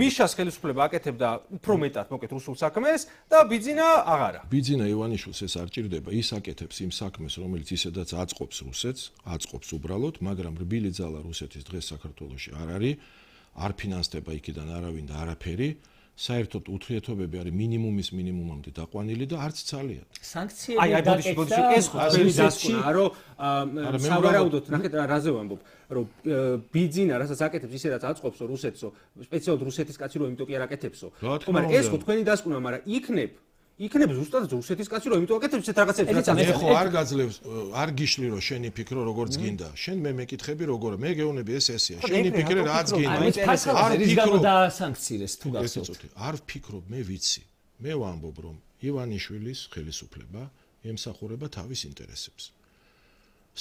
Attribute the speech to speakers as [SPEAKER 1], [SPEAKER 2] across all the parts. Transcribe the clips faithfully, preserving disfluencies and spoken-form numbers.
[SPEAKER 1] მიშას ხელისუფლება აკეთებდა უფრო მეტად მოკეთ რუსულ საქმეს და ბიძინა აღარა.
[SPEAKER 2] ბიძინა ივანიშვილს ეს არ ჭირდება, ის აკეთებს იმ საქმეს, რომელიც ისედაც აწყობს რუსეთს, აწყობს უბრალოდ, მაგრამ რბილი ძალა რუსეთის დღეს საქართველოში არ არის, არ ფინანსდება იქიდან არავინ და არაფერი. საერთოდ ურთიერთობები არის მინიმუმის მინიმუმამდე დაყვანილი და არც ძალიან.
[SPEAKER 1] სანქციები დაკეთდა. ეს ხო თქვენი დასკვნა, რომ სავარაუდოდ ნახეთ რაზე ვამბობ, რომ ბიძინა რასაც აკეთებს ისედაც აწყობსო რუსეთსო, სპეციალურად რუსეთის კაცი რომ იმიტომ კი არ აკეთებსო. მაგრამ ეს ხო თქვენი დასკვნა, მაგრამ იქნებ იქნებ ზუსტად რუსეთის კაცი რომ იმიტომ აკეთებს ესეთ რაღაცებს რაც
[SPEAKER 2] მე ხო არ გაძლევს არ გიშლი რომ შენი ფიქრო როგორც გინდა შენ მე მეკითხები როგორ მე გეუბნები ეს ესეა შენი ფიქრე რაც გინდა
[SPEAKER 3] არ ფიქრო და სანქციებს თუ გახსოვთ
[SPEAKER 2] არ ფიქრობ მე ვიცი მე ვამბობ რომ ივანიშვილის ხელისუფლება ემსახურება თავის ინტერესებს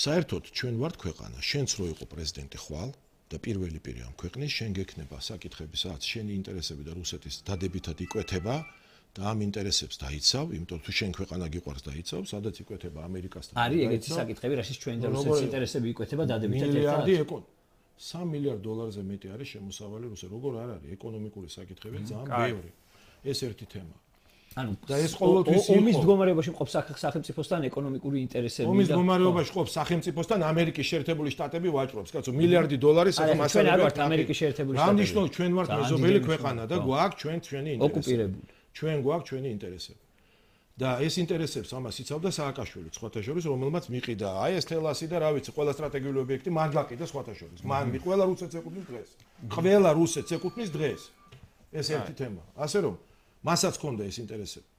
[SPEAKER 2] საერთოდ ჩვენ ვართ ქვეყანა შენც რო იყო პრეზიდენტი ხვალ და პირველი პირი ამ ქვეყნის შენ გექნება საკითხები სადაც შენი ინტერესები და რუსეთის დადებითად იკვეთება და ამ ინტერესებს დაიცავ, იმიტომ თუ შენ ქვეყანა გიყვარს დაიცავ, სადაც იკვეთება ამერიკასთან.
[SPEAKER 3] არის ეგეთი საკითხები, რაშიც ჩვენი და რუსეთის ინტერესები იკვეთება დადებითად ერთად.
[SPEAKER 2] მილიარდი ეკონ სამი მილიარდ დოლარზე მეტი არის შემოსავალი რუსეთს. როგორ არ არის ეკონომიკური საკითხები ძალიან ბევრი. ეს ერთი თემა.
[SPEAKER 3] ანუ
[SPEAKER 2] და ეს ყოველთვის
[SPEAKER 3] ომის მდგომარეობაში მყოფ სახელმწიფოსთან ეკონომიკური ინტერესები და
[SPEAKER 2] ომის მდგომარეობაში მყოფ სახელმწიფოსთან ამერიკის შეერთებული შტატები ვაჭრობს, კაცო, მილიარდი დოლარი სახელმწიფო
[SPEAKER 3] ჩვენ არ ვართ ამერიკის შეერთებული შტატები.
[SPEAKER 2] რა ნიშნავს ჩვენ ვართ მეზობელი ქვეყანა და გვაქვს ჩვენ ჩვენი ინტერესები.
[SPEAKER 3] ოკუპირებული.
[SPEAKER 2] ჩვენ გვაქვს ჩვენი ინტერესები. და ეს ინტერესებს ამას იცავდა სააკაშვილი, სხვათა შორის, რომელმაც მიყიდა აი ეს თელასი და რა ვიცი, ყველა სტრატეგიული ობიექტი მან გაყიდა სხვათა შორის. მან ყველა რუსეთს ეკუთვნის დღეს. ყველა რუსეთს ეკუთვნის დღეს. ეს ერთი თემა. ასე რომ, მასაც ჰქონდა ეს ინტერესები.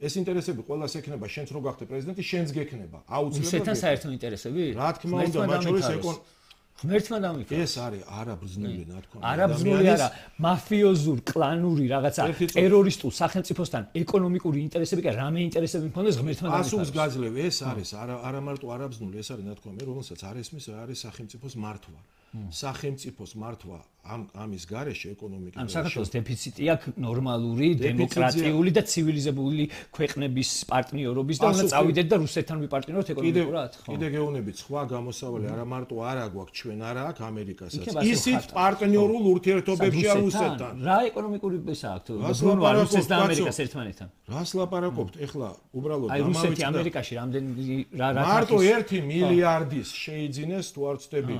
[SPEAKER 2] ეს ინტერესები ყველას ექნება, შენც რო გახდე პრეზიდენტი, შენც გექნება. აუცილებლად.
[SPEAKER 3] რუსეთთან საერთო ინტერესები?
[SPEAKER 2] რა თქმა უნდა, მათ შორის ეკონ
[SPEAKER 3] ღმერთმა დამიფაროს.
[SPEAKER 2] ეს არის არაბრძნული ნათქვამი.
[SPEAKER 3] არაბრძნული არა, მაფიოზურ, კლანური რაღაცა ტერორისტულ სახელმწიფოსთან ეკონომიკური ინტერესები კი რამე ინტერესები მქონდეს ღმერთმა დამიფაროს.
[SPEAKER 2] ასულს გაძლევ, ეს არის არა არა მარტო არაბრძნული, ეს არის ნათქვამი, რომელსაც არ ესმის რა არის სახელმწიფოს მართვა. სახელმწიფოს მართვა ამ ამის გარეშე ეკონომიკის
[SPEAKER 3] ამ საქართველოს დეფიციტი აქვს ნორმალური, დემოკრატიული და ცივილიზებული ქვეყნების პარტნიორობის და უნდა წავიდეთ და რუსეთთან ვიპარტნიოროთ ეკონომიკურად, ხო?
[SPEAKER 2] კიდე გეუბნებით, სხვა გამოსავალი არა მარტო არა გვაქვს ჩვენ არა აქვს ამერიკასაც. ისიც პარტნიორულ ურთიერთობებში არის რუსეთთან.
[SPEAKER 3] რა ეკონომიკური ესა აქვს? ბრუნვა რუსეთს და ამერიკას ერთმანეთთან.
[SPEAKER 2] რას ლაპარაკობთ? ეხლა უბრალოდ
[SPEAKER 3] აი რუსეთი ამერიკაში რამდენი რა რა
[SPEAKER 2] მარტო ერთი მილიარდის შეიძინეს თუ არ ვწდები.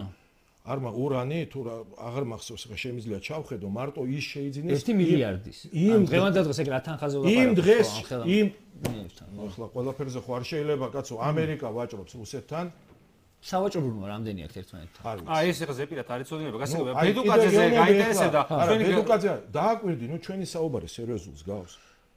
[SPEAKER 2] არმა ურანი თუ აღარ მახსოვს ხა შემიძლია ჩავხედო მარტო ის შეიძინეს
[SPEAKER 3] ერთი მილიარდის იმ დღევანდელ დღეს ეგ რა თანხაზე ვლაპარაკობთ
[SPEAKER 2] იმ დღეს იმ ახლა ყველაფერზე ხო არ შეიძლება კაცო ამერიკა ვაჭრობს რუსეთთან
[SPEAKER 3] სავაჭრო ბრუნვა რამდენი აქვს ერთმანეთთან
[SPEAKER 1] აი ეს ახლა ზეპირად არის წოდინება გასაგებია ბედუკაძეზე გაინტერესებდა
[SPEAKER 2] ჩვენი ბედუკაძე დააკვირდი ნუ ჩვენი საუბარი სერიოზულს გავს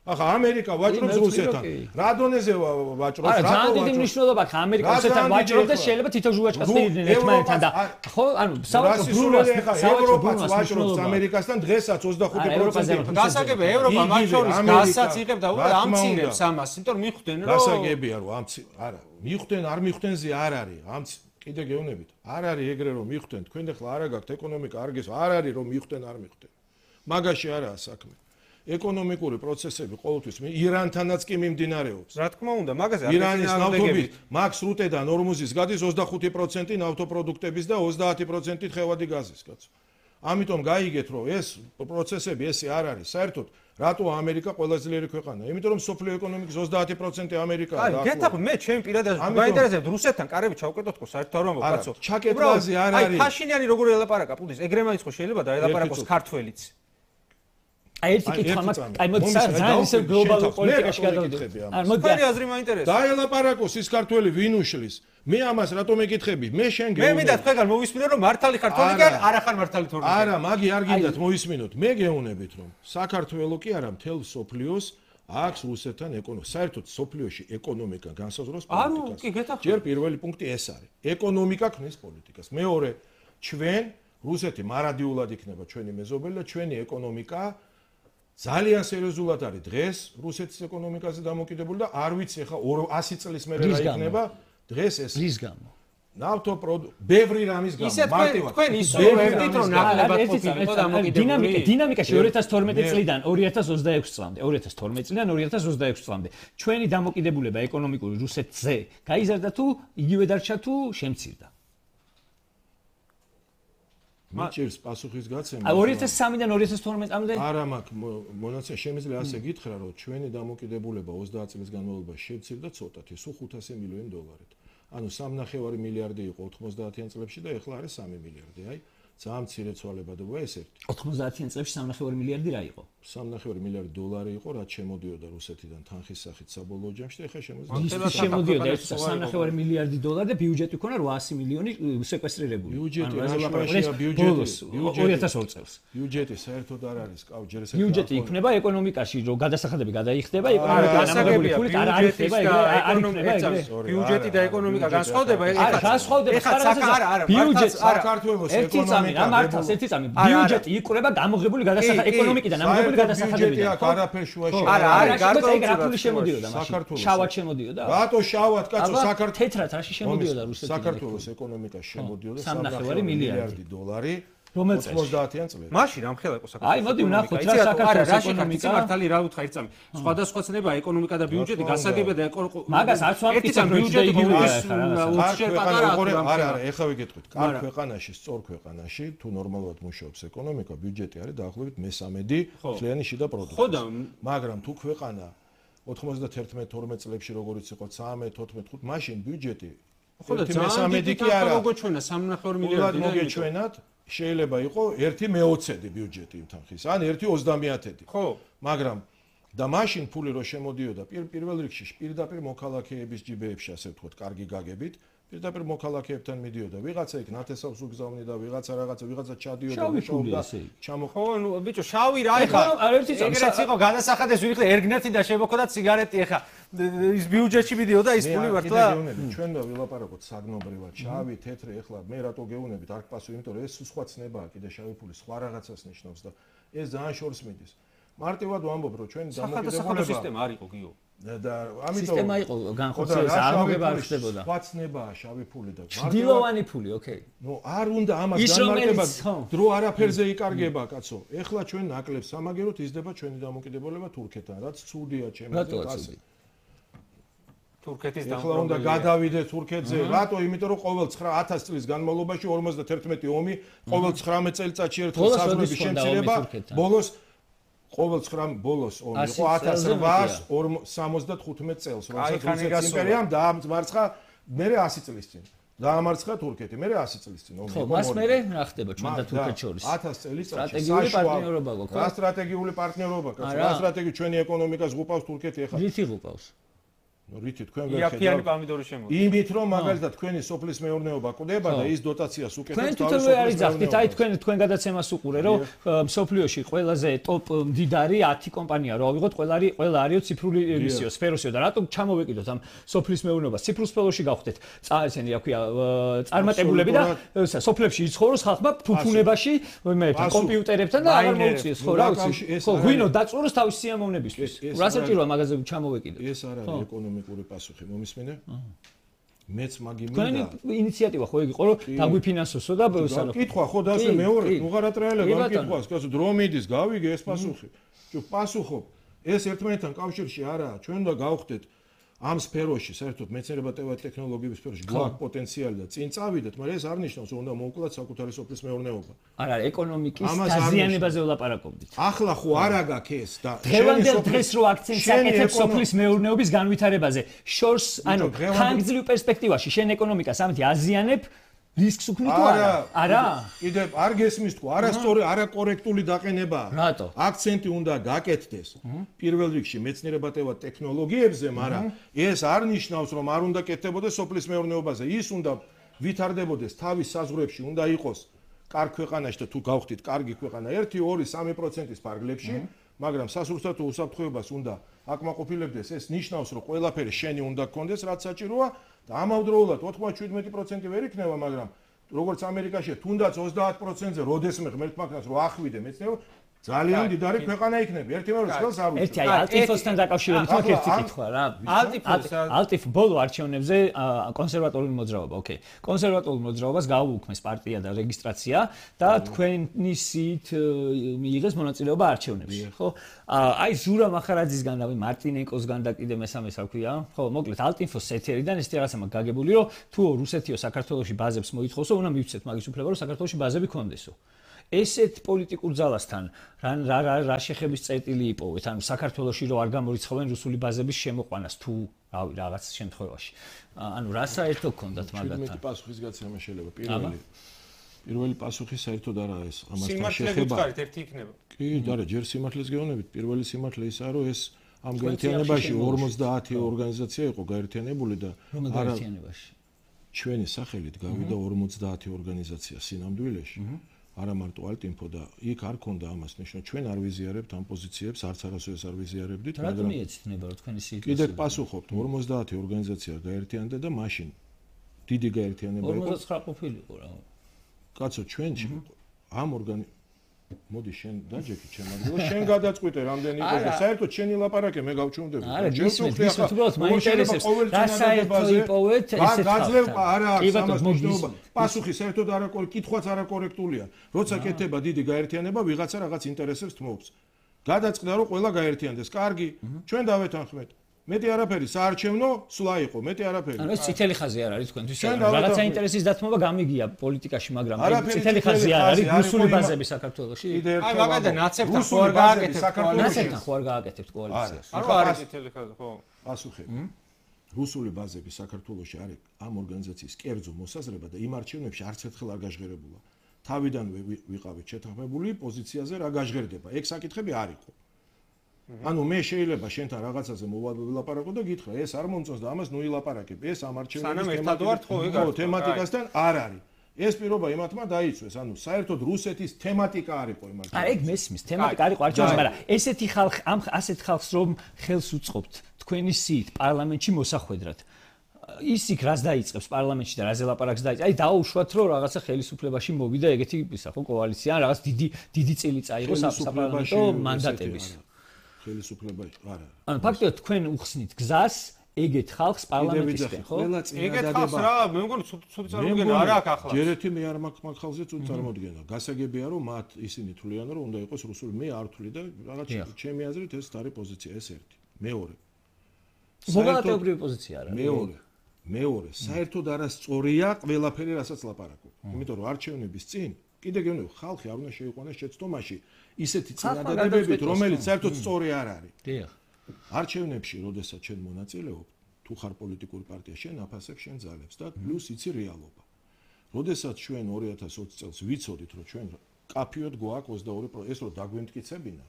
[SPEAKER 2] ახლა ამერიკა ვაჭრობს რუსეთთან. რა დონეზე ვაჭრობს?
[SPEAKER 3] რა ძალიან დიდი მნიშვნელობა აქვს ამერიკა რუსეთთან ვაჭრობს და შეიძლება თითო ჟუვაჩკას მიიღდნენ ერთმანეთთან და ხო ანუ
[SPEAKER 2] საავადმყოფო ბრუნვას ევროპაც ვაჭრობს ამერიკასთან დღესაც ოცდახუთი პროცენტი.
[SPEAKER 1] გასაგებია ევროპა მათ შორის გაზსაც იღებდა უბრალოდ ამცირებს ამას, იმიტომ რომ მიხვდნენ რომ
[SPEAKER 2] გასაგებია რომ ამცი არა მიხვდნენ არ მიხვდენზე არ არის ამც კიდე გეუბნებით არ არის ეგრე რომ მიხვდნენ თქვენ ახლა არა გაქვთ ეკონომიკა არ გეს არ არის რომ მიხვდნენ არ მიხვდნენ მაგაში არაა საქმე ეკონომიკური პროცესები ყოველთვის ირანთანაც კი მიმდინარეობს.
[SPEAKER 1] რა თქმა უნდა, მაგაზე
[SPEAKER 2] ირანის ნავთობით მაქს რუტედან ორმოზის გადის ოცდახუთი პროცენტი ნავთობპროდუქტების და ოცდაათი პროცენტი თხევადი გაზის, კაცო. ამიტომ გაიგეთ, რომ ეს პროცესები ესე არ არის. საერთოდ, რატო ამერიკა ყველაზე ძლიერი ქვეყანაა? იმიტომ რომ სოფლიო ეკონომიკის ოცდაათი პროცენტი ამერიკაა და
[SPEAKER 1] აი, გეტყვი, მე ჩემი პირადად მაინტერესებს რუსეთთან კარები ჩავკეტოთ ხო საერთოდ არ ვამბობ, კაცო.
[SPEAKER 2] ჩაკეტვაზე არ არის.
[SPEAKER 1] აი, ფაშინიანი როგორ ელაპარაკა, პუტინს, ეგრე მაინც ხო შეიძლება და ელაპარაკოს ქართველიც.
[SPEAKER 3] აი ერთი კითხვა მაქვს, აი მოდი ძალიან ისე გლობალურ პოლიტიკაში გადავიდეთ.
[SPEAKER 1] არ მოდი თქვენი აზრი მაინტერესებს.
[SPEAKER 2] დაელაპარაკოს ის ქართველი ვინ უშლის? მე ამას რატომ მეკითხები? მე შენ გეუბნები.
[SPEAKER 1] მე მინდა თქვენგან მოვისმინო რომ მართალი ქართველი კი არა ხარ მართალი თორნიკე.
[SPEAKER 2] არა, მაგი არ გინდათ მოვისმინოთ. მე გეუბნებით რომ საქართველოს კი არა მთელ სოფლიოს აქვს რუსეთთან ეკონომიკა. საერთოდ სოფლიოში ეკონომიკა განსაზღვრავს პოლიტიკას.
[SPEAKER 1] ანუ კი გეტახო.
[SPEAKER 2] ჯერ პირველი პუნქტი ეს არის. ეკონომიკა ქმნის პოლიტიკას. მეორე, ჩვენ რუსეთი მარადიულად იქნება ჩვენი მეზობელი და ჩვენი ეკონომიკა ძალიან სერიოზულად არის დღეს რუსეთის ეკონომიკაზე დამოკიდებული და არ ვიცი ხა ასი წლის მერე რა იქნება დღეს ეს
[SPEAKER 3] რის გამო
[SPEAKER 2] ნავთობპროდუქტ ბევრი რამის გამო
[SPEAKER 1] მარტივად თქვენ ისურვებდით რომ ნაკლებად ყოფილიყო დამოკიდებული
[SPEAKER 3] დინამიკა დინამიკაში ორი ათას თორმეტი წლიდან ორი ათას ოცდაექვსი წლამდე ორი ათას თორმეტი წლიდან ორი ათას ოცდაექვსი წლამდე ჩვენი დამოკიდებულება ეკონომიკური რუსეთზე გაიზარდა თუ იგივე დარჩა თუ შემცირდა
[SPEAKER 2] მიჭირს პასუხისგაცემა.
[SPEAKER 3] ორი ათას სამიდან ორი ათას თორმეტამდე?
[SPEAKER 2] არა მაქვს მონაცემ, შემიძლია ასე გითხრა, რომ ჩვენი დამოკიდებულება ოცდაათ წლის განმავლობაში შევცირდა ცოტათი, სულ ხუთასი მილიონი დოლარით. ანუ სამნახევარი მილიარდი იყო ოთხმოცდაათიან წლებში და ეხლა არის სამი მილიარდი. აი, ძალიან მცირე ცვალებადობა ეს ერთი.
[SPEAKER 3] ოთხმოცდაათიან წლებში სამნახევარი მილიარდი რა იყო?
[SPEAKER 2] სამნახევარი მილიარდი დოლარი იყო, რაც შემოდიოდა რუსეთიდან თანხის სახით საბოლოო ჯამში და ეხლა შემოდის.
[SPEAKER 3] ის შემოდიოდა ეს სამნახევარი მილიარდი დოლარი და ბიუჯეტი ქონა რვაასი მილიონი სეკვესტრირებული.
[SPEAKER 2] ბიუჯეტი რა შევაშია ბიუჯეტი
[SPEAKER 3] ორი ათას ორ წელს.
[SPEAKER 2] ბიუჯეტი საერთოდ არ არის, კავ ჯერ ესე.
[SPEAKER 3] ბიუჯეტი იქნება ეკონომიკაში, რომ გადასახადები გადაიხდება, ეკონომიკა დამაგრებული ფულით არ არის ხდება, არ იქნება ეგრე.
[SPEAKER 1] ბიუჯეტი და ეკონომიკა განსხვავდება,
[SPEAKER 3] ეხლა განსხვავდება.
[SPEAKER 1] არა, არა,
[SPEAKER 3] ბიუჯეტი
[SPEAKER 2] საქართველოს
[SPEAKER 3] ეკონომიკა მართავს ერთი წამი. ბიუჯეტი იყრება დამოღებული გადასახადები ეკონომიკიდან დამოღებული გადასახადებიდან.
[SPEAKER 2] არაფერ შუაში.
[SPEAKER 3] არა, არა, გარკვეული რაფული შემოდიოდა მაშინ. შავად შემოდიოდა.
[SPEAKER 2] რატო შავად, კაცო, საქართველოს
[SPEAKER 3] თეთრად რაში შემოდიოდა რუსეთიდან?
[SPEAKER 2] საქართველოს ეკონომიკაში შემოდიოდა
[SPEAKER 3] სამნახევარი მილიარდი
[SPEAKER 2] დოლარი.
[SPEAKER 3] ოცდაათიან
[SPEAKER 2] წლებში.
[SPEAKER 1] მაშინ ამ ხელა იყო საქართველოს.
[SPEAKER 3] აი, მოდი ვნახოთ რა საქართველოს ეკონომიკა.
[SPEAKER 1] მართალი რა უთხრა ერთ წამი. სხვადასხვა ცნება ეკონომიკა და ბიუჯეტი გასაგებია და
[SPEAKER 3] მაგას არც ვამტკიცებ ბიუჯეტი იგივეა ხა
[SPEAKER 2] რაღაცა. არა, არა, ეხლა ვიგეთყვით. კარგ ქვეყანაში, სწორ ქვეყანაში, თუ ნორმალურად მუშაობს ეკონომიკა, ბიუჯეტი არის დაახლოებით მესამედი მთლიანი შიდა პროდუქტი.
[SPEAKER 1] ხო და
[SPEAKER 2] მაგრამ თუ ქვეყანა ოცდაათი თორმეტ წლებში როგორც იყო ცხრამეტ თოთხმეტ ხუთ მაშინ ბიუჯეტი
[SPEAKER 1] ხო და მესამედი კი არა. მოგეჩვენა სამნახევარი მილიარდი და
[SPEAKER 2] მოგეჩვენათ შეიძლება იყო ერთი მეოცედი ბიუჯეტი თანხის, ან ერთი ოცდამეათედი.
[SPEAKER 1] ხო,
[SPEAKER 2] მაგრამ და მაშინ ფული რო შემოდიოდა პირველ რიგში პირდაპირ მოქალაქეების ჯიბეებში, ასე ვთქვათ, კარგი გაგებით, პირდაპირ მოქალაქეებთან მიდიოდა. ვიღაცა იქ ნათესავს უგზავნი და ვიღაცა რაღაცა, ვიღაცა ჩადიოდა, მუშაობდა. ჩამო
[SPEAKER 1] ხო, ნუ ბიჭო, შავი რა ეხა? ეგრეც იყო გადასახადეს ვიხდი ერგნეთი და შემოხდა ციგარეტი ეხა. ის ბიუჯეტში მიდიოდა ის ფული მართლა?
[SPEAKER 2] ჩვენ და ვილაპარაკოთ საგნობრივად, შავი, თეთრი, ეხლა მე რატო გეუბნებით, არ გპასუხი, იმიტომ რომ ეს სხვა ცნებაა, კიდე შავი ფული სხვა რაღაცას ნიშნავს და ეს ძალიან შორს მიდის. მარტივად ვამბობ, რომ ჩვენ
[SPEAKER 1] დამოკიდებულება სისტემა არ იყო, გიო.
[SPEAKER 2] და ამიტომ
[SPEAKER 3] სისტემა იყო განხორციელების აღმოგება არ ხდებოდა.
[SPEAKER 2] სხვა ცნებაა შავი ფული და
[SPEAKER 3] ჭდილოვანი ფული, ოკეი.
[SPEAKER 2] ნუ არ უნდა ამას განმარტება, დრო არაფერზე იკარგება, კაცო. ეხლა ჩვენ ნაკლებს სამაგეროთ იზრდება ჩვენი დამოკიდებულება თურქეთთან, რაც ცუდია ჩემს აზრით.
[SPEAKER 1] თურქეთის
[SPEAKER 2] დამოკიდებულება. ეხლა უნდა გადავიდეთ თურქეთზე. რატო? იმიტომ რომ ყოველ ათას წლის განმავლობაში ორმოცდათერთმეტი ომი, ყოველ ცხრამეტ წელიწადში ერთხელ საზღვრები შემცირება, ბოლოს ყოველ ცხრამეტ ბოლოს ომი იყო ათას რვაას სამოცდახუთმეტ წელს, როდესაც რუსეთის იმპერიამ დაამარცხა მერე ასი წლის წინ. დაამარცხა თურქეთი, მერე ასი წლის წინ ომი
[SPEAKER 3] იყო. ხო, მას მერე რა ხდება ჩვენ და თურქეთს შორის?
[SPEAKER 2] ათას წელიწადში
[SPEAKER 3] სტრატეგიული პარტნიორობა გქონდა.
[SPEAKER 2] რა სტრატეგიული პარტნიორობა, კაცო? რა სტრატეგიული ჩვენი ეკონომიკას ღუპავს თურქეთი ეხლა?
[SPEAKER 3] რითი ღუპავს?
[SPEAKER 2] ნუ რითი თქვენ ვერ ხედავთ?
[SPEAKER 1] იაფიანი პომიდორი შემოდის.
[SPEAKER 2] იმით რომ მაგალითად თქვენი სოფლის მეურნეობა კვდება და ის დოტაციას უკეთებს
[SPEAKER 3] თავის სოფლის. თქვენ თვითონ არის ძახდით, აი თქვენ თქვენ გადაცემას უყურე, რომ სოფლიოში ყველაზე ტოპ მდიდარი ათი კომპანია რო ავიღოთ, ყველა არის ყველა არისო ციფრული მისიო, სფეროსიო და რატომ ჩამოვეკიდოთ ამ სოფლის მეურნეობას? ციფრულ სფეროში გავხდეთ. წაესენი რა ქვია, წარმატებულები და სოფლებში იცხოვროს ხალხმა ფუფუნებაში, მე კომპიუტერებთან და აღარ მოუწიეს, ხო რა ვიცი. ხო, ღვინო დაწუროს თავის სიამოვნებისთვის. რა საჭიროა მაგაზე ჩამოვეკიდოთ?
[SPEAKER 2] ეს არ არის ეკონომიკური პასუხი, მომისმენე? მეც მაგი მინდა.
[SPEAKER 3] თქვენი ინიციატივა ხო იგი იყო, რომ დაგვიფინანსოსო და
[SPEAKER 2] სანო. კითხვა ხო და ასე მეორე, უღარატრიალებ ამ კითხვას, კაცო, დრო მიდის, გავიგე ეს პასუხი. ჩუ პასუხობ. ეს ერთმანეთთან კავშირში არაა, ჩვენ უნდა გავხდეთ ამ სფეროში, საერთოდ მეცნიერებათა და ტექნოლოგიების სფეროში გვაქვს პოტენციალი და წინ წავიდეთ, მაგრამ ეს არ ნიშნავს, რომ უნდა მოვკლათ საკუთარი სოფლის მეურნეობა.
[SPEAKER 3] არა, ეკონომიკის დაზიანებაზე ვლაპარაკობდით.
[SPEAKER 2] ახლა ხო არა გაქვს ეს და
[SPEAKER 3] დღევანდელ დღეს რო აქცენტს აკეთებ სოფლის მეურნეობის განვითარებაზე, შორს, ანუ ხანგრძლივ პერსპექტივაში შენ ეკონომიკას ამით აზიანებ რისკს უქმნი თუ არა? არა.
[SPEAKER 2] კიდე არ გესმის თუ არასწორი, არაკორექტული დაყენებაა.
[SPEAKER 3] რატო?
[SPEAKER 2] აქცენტი უნდა გაკეთდეს პირველ რიგში მეცნიერებათა და ტექნოლოგიებზე, მაგრამ ეს არ ნიშნავს, რომ არ უნდა კეთდებოდეს სოფლის მეურნეობაზე. ის უნდა ვითარდებოდეს თავის საზღვრებში, უნდა იყოს კარგ ქვეყანაში და თუ გავხდით კარგი ქვეყანა ერთი, ორი, სამი პროცენტის ფარგლებში, მაგრამ სასურსათო უსაფრთხოებას უნდა აკმაყოფილებდეს. ეს ნიშნავს, რომ ყველაფერი შენი უნდა გქონდეს, რაც საჭიროა. და ამავდროულად ოცდაშვიდმეტი პროცენტი ვერ იქნება, მაგრამ როგორც ამერიკაში თუნდაც ოცდაათ პროცენტზე როდესმე ღმერთმა ქნას რომ ახვიდე მეცნიერება, ძალიან დიდარი ქვეყანა იქნება. ერთი მეორე ხელს არ უშვა.
[SPEAKER 3] ერთი აი ალტიფოსთან დაკავშირებით მაქვს ერთი კითხვა რა. ალტიფოს ბოლო არჩევნებზე კონსერვატორული მოძრაობა, ოკეი. კონსერვატორულ მოძრაობას გაუუქმეს პარტია და რეგისტრაცია და თქვენი სით მიიღეს მონაწილეობა არჩევნებში, ხო? აი ზურა მახარაძისგან და მარტინენკოსგან და კიდე მესამეს რა ქვია, ხო, მოკლედ ალტიფოს ეთერიდან ეს რაღაცა მაქვს გაგებული, რომ თუ რუსეთიო საქართველოში ბაზებს მოითხოვსო, უნდა მივცეთ მაგის უფლება, რომ საქართველოში ბაზები კონდესო. ესეთ პოლიტიკურ ძალასთან რა რა რა შეხების წერტილი იპოვეთ, ანუ საქართველოში რო არ გამორიცხავენ რუსული ბაზების შემოყვანას თუ რავი რაღაც შემთხვევაში. ანუ რა საერთო გქონდათ მაგათთან?
[SPEAKER 2] მეტი პასუხის გაცემა შეიძლება. პირველი პირველი პასუხი საერთოდ არა ეს ამასთან
[SPEAKER 1] შეხება. სიმართლე გითხარით ერთი იქნება.
[SPEAKER 2] კი, არა, ჯერ სიმართლეს გეუბნებით. პირველი სიმართლე ისაა, რომ ეს ამ გაერთიანებაში ორმოცდაათი ორგანიზაცია იყო გაერთიანებული და
[SPEAKER 3] არა
[SPEAKER 2] ჩვენი სახელით გავიდა ორმოცდაათი ორგანიზაცია სინამდვილეში. არა მარტო ალტინფო და იქ არ ქონდა ამას ნიშნა ჩვენ არ ვიზიარებთ ამ პოზიციებს არც არასოდეს არ ვიზიარებდით
[SPEAKER 3] მაგრამ მიეცნება რომ თქვენი სიტუაცია
[SPEAKER 2] კიდევ პასუხობთ ორმოცდაათი ორგანიზაცია გაერთიანდა და მაშინ დიდი გაერთიანება იყო
[SPEAKER 3] ორმოცდაცხრა ყოფილიყო რა
[SPEAKER 2] კაცო ჩვენ ამ ორგანი მოდი შენ დაჯექი ჩემ ადგილას შენ გადაწყვიტე რამდენი იყო და საერთოდ შენი ლაპარაკე მე გავჩუმდები
[SPEAKER 3] არა გისმენთ გისმენთ უბრალოდ მაინტერესებს რა საერთო იპოვეთ ესეთ
[SPEAKER 2] გაძლევ არა ამას მნიშვნელობა პასუხი საერთოდ არა კითხვაც არა კორექტულია როცა კეთება დიდი გაერთიანება ვიღაცა რაღაც ინტერესებს თმობს გადაწყდა რომ ყველა გაერთიანდეს კარგი ჩვენ დავეთანხმეთ მეტი არაფერი საარჩევნო სულა იყო მეტი არაფერი
[SPEAKER 3] ანუ ეს წითელი ხაზი არ არის თქვენთვის რაღაცა ინტერესის დათმობა გამიგია პოლიტიკაში მაგრამ წითელი ხაზი არ არის რუსული ბაზები საქართველოში
[SPEAKER 1] აი მაგადა ნაცებთან ხო არ გააკეთებთ
[SPEAKER 3] ნაცებთან ხო არ გააკეთებთ კოალიციას
[SPEAKER 1] ანუ არის წითელი ხაზი ხო
[SPEAKER 2] პასუხი რუსული ბაზები საქართველოში არის ამ ორგანიზაციის კერძო მოსაზრება და იმ არჩევნებში არც ერთხელ არ გაჟღერებულა თავიდანვე ვიყავით შეთანხმებული პოზიციაზე რა გაჟღერდება ეგ საკითხები არ იყო ანუ მე შეიძლება შენთან რაღაცაზე მოვავილაპარაკო და გითხრა ეს არ მომწონს და ამას ნუ ილაპარაკებ ეს ამ არჩევნების თემატიკასთან არ არის ეს პირობა იმათმა დაიცვეს ანუ საერთოდ რუსეთის თემატიკა არ იყო იმათ
[SPEAKER 3] არა ეგ მესმის თემატიკა არ იყო არჩევნებში მაგრამ ესეთი ხალხი ამ ასეთ ხალხს რომ ხელს უწყობთ თქვენი სიით პარლამენტში მოსახვედრად ის იქ რას დაიწყებს პარლამენტში და რაზე ლაპარაკს დაიწყებს აი დაუშვათ რომ რაღაცა ხელისუფლებაში მოვიდა ეგეთი ისა ხო კოალიცია ან რაღაც დიდი დიდი წილი წაიღო საპარლამენტო მანდატების
[SPEAKER 2] ხელისუფლებაში არა.
[SPEAKER 3] ანუ ფაქტია თქვენ უხსნით გზას ეგეთ ხალხს პარლამენტისკენ, ხო?
[SPEAKER 1] ეგეთ ხალხს რა, მე მგონი ცუდი წარმოდგენა არ აქვს ახლა.
[SPEAKER 2] ჯერ ერთი მე არ მაქვს მაგ ხალხზე ცუდი წარმოდგენა. გასაგებია რომ მათ ისინი თვლიან რომ უნდა იყოს რუსული, მე არ თვლი და რაღაც ჩემი აზრით ეს არის პოზიცია ეს ერთი. მეორე.
[SPEAKER 3] მოგალატებრივი პოზიცია არა.
[SPEAKER 2] მეორე. მეორე, საერთოდ არასწორია ყველაფერი რასაც ლაპარაკობ. იმიტომ რომ არჩევნების წინ კიდე გეუბნები ხალხი არ უნდა შეიყვანოს შეცდომაში ისეთი წინადადებებით რომელიც საერთოდ სწორი არ არის.
[SPEAKER 3] დიახ.
[SPEAKER 2] არჩევნებში, როდესაც შენ მონაწილეობ, თუ ხარ პოლიტიკური პარტია, შენ აფასებ შენ ძალებს და პლუს იცი რეალობა. როდესაც ჩვენ ორი ათას ოცი წელს ვიცოდით, რომ ჩვენ კაფიოდ გვაქვს ოცდაორი პროცენტი, ეს რომ დაგვემტკიცებინა,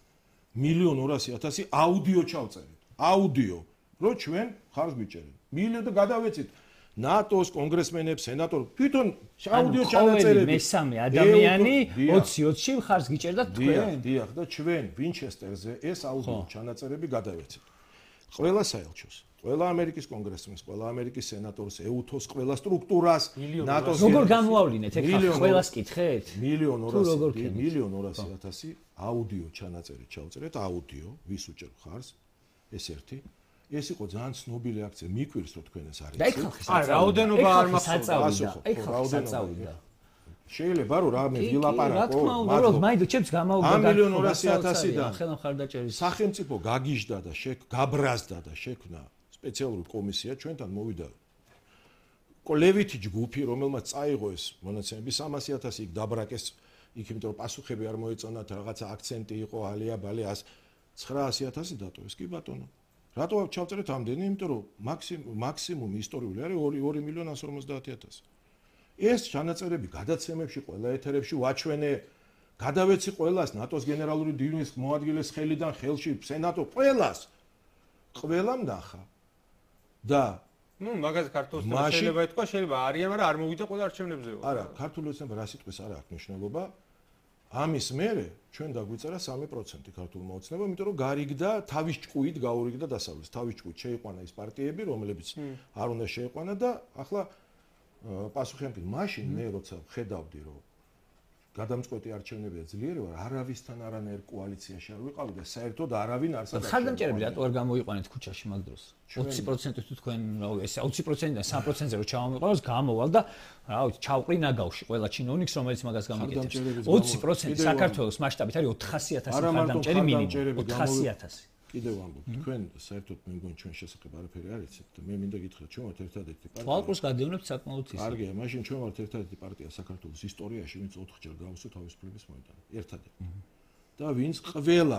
[SPEAKER 2] მილიონ ორასი ათასი აუდიო ჩავწერეთ. აუდიო, რომ ჩვენ ხარს გვიჭერენ. მილიონ და გადავეცით ნატოს კონგრესმენებს, სენატორებს, თვითონ აუდიო ჩანაწერები.
[SPEAKER 3] მესამე ადამიანი ოცი ოცში ხარს გიჭერდა თქვენ.
[SPEAKER 2] დიახ, და ჩვენ ვინჩესტერზე ეს აუდიო ჩანაწერები გადავეცით. ყველა საელჩოს, ყველა ამერიკის კონგრესმენს, ყველა ამერიკის სენატორს, ეუთოს, ყველა სტრუქტურას, ნატოს.
[SPEAKER 3] როგორ გამოავლინეთ ეგ ყველას კითხეთ?
[SPEAKER 2] მილიონ ორასი, მილიონ ორასი ათასი აუდიო ჩანაწერი ჩავწერეთ, აუდიო, ვის უჭერ ხარს? ეს ერთი ეს იყო ძალიან ცნობილი აქცია, მიკვირს რომ თქვენ ეს არის.
[SPEAKER 3] და ეგ ხალხი
[SPEAKER 1] აი, რაოდენობა არ მახსოვს.
[SPEAKER 3] ეგ ხალხი საწავიდა.
[SPEAKER 2] შეიძლება რომ რამე ვილაპარაკო.
[SPEAKER 3] რა თქმა უნდა, რომ მაინც ჩემს გამაუგდა
[SPEAKER 2] და მილიონ ორასი ათასიდან
[SPEAKER 3] ხელა მხარდაჭერის
[SPEAKER 2] სახელმწიფო გაგიჟდა და გაბრაზდა და შექმნა სპეციალური კომისია ჩვენთან მოვიდა. კოლევითი ჯგუფი, რომელმაც წაიღო ეს მონაცემები სამასი ათასი იქ დაბრაკეს, იქ იმიტომ რომ პასუხები არ მოეწონათ, რაღაცა აქცენტი იყო, ალია ბალე ცხრაასი ათასი დატოვეს კი ბატონო. რატო ჩავწერეთ ამდენი? იმიტომ რომ მაქსიმუმ მაქსიმუმი ისტორიული არის ორი მილიონი ასი ორმოცდაათი ათასი. ეს ჩანაწერები გადაცემებში ყველა ეთერებში ვაჩვენე, გადავეცი ყველას ნატოს გენერალური დირექტორის მოადგილეს ხელიდან ხელში სენატო ყველას. ყველამ ნახა. და
[SPEAKER 1] ნუ მაგაზე ქართულ ოცნებას შეიძლება ეთქვა, შეიძლება არიან, მაგრამ არ მოვიდა ყველა არჩევნებზე.
[SPEAKER 2] არა, ქართულ ოცნება რა სიტყვის არ აქვს მნიშვნელობა. ამის მერე ჩვენ დაგვიწერა სამი პროცენტი ქართულმა ოცნებამ, იმიტომ რომ გარიგდა თავის ჭკუით გაურიგდა დასავლეთს. თავის ჭკუით შეიყვანა ის პარტიები, რომლებიც არ უნდა შეიყვანა და ახლა პასუხი ამკი, მაშინ მე როცა ხედავდი რომ გადამწყვეტი არჩევნებია ძლიერი ვარ, არავისთან არანაირ კოალიციაში არ ვიყავი და საერთოდ არავინ არ საერთოდ.
[SPEAKER 3] ხარდამჭერები რატო არ გამოიყვანეთ ქუჩაში მაგ დროს? ოცი პროცენტი თუ თქვენ, რა ვიცი, ეს ოცი პროცენტიდან სამი პროცენტზე რო ჩავამიყავს, გამოვალ და რა ვიცი, ჩავყრი ნაგავში ყველა ჩინოვნიკს, რომელიც მაგას გამიკეთებს. ოცი პროცენტი საქართველოს მასშტაბით არის ოთხასი ათასი ხარდამჭერი მინიმუმ. ოთხასი ათასი.
[SPEAKER 2] კიდევ ვამბობ, თქვენ საერთოდ მე მგონი ჩვენ შესაძლოა არაფერი არ იცით და მე მინდა გითხრათ, ჩვენ ვართ ერთადერთი პარტია.
[SPEAKER 3] თვალყურს გადავნებთ საკმაოდ ისე.
[SPEAKER 2] კარგია, მაშინ ჩვენ ვართ ერთადერთი პარტია საქართველოს ისტორიაში, ვინც ოთხჯერ გავუსვით თავისუფლების მოედანი. ერთადერთი. და ვინც ყველა